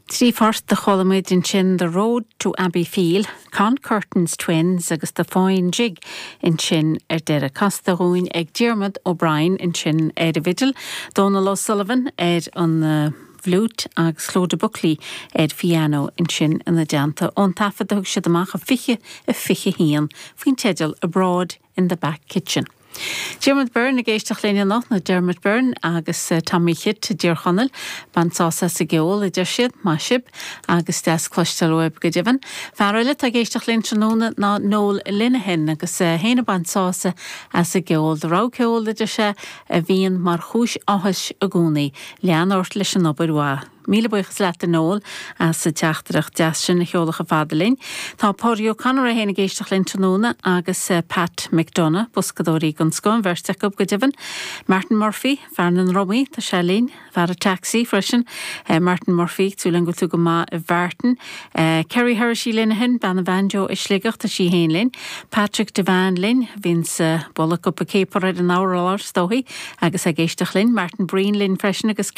Trí phort a chuala muid ansin, The Road to Abbeyfeale, Con Curtin's Twins agus The Foyne Jig ansin ar deireadh. Casta dhúinn ag Diarmuid O'Brien ansin ar an bhfidil, Dónal O'Sullivan ar an bhfliúit agus Clodagh Buckley ar phiano ansin ina dteannta. Ón taifead a thug siad amach i 2021 faoin teideal Abroad in the Back Kitchen. Diarmuid Byrne ag éisteacht linn anocht, nó Dermot Byrne agus Tommy Chit i dTír Chonaill. Bain sásamh as an gceol, a deir siad, maith sibh agus deas cloisteáil uaibh go deimhin. Fear eile atá ag éisteacht linn tráthnóna ná Noel Linehan agus é féin ag baint sásamh as an gceol. Do rogha ceoil, a deir sé, a bhíonn mar chúis áthais i gcónaí. Lean ort leis an obair mhaith. Míle buíochas leat a Noel as an teachtaireacht deas sin a sheoladh chomh fada linn. Tá Pádraig O'Connor é féin ag éisteacht linn tráthnóna agus Pat McDonagh, boscadóirí den scoth an bheirt acu go deimhin. Martin Murphy, fear na ndrumaí, tá sé linn, fear an taxi freisin. Martin Murphy, súil agam go bhfuil tú go maith a Mhartin. Kerry Herity Linehan, bean an bhanjo i Sligeach, tá sí féin linn. Patrick Devane linn, a bhíonns ag bualadh cupa céapar ar an urlár is dóigh agus ag éisteacht linn. Martin Breen linn freisin agus.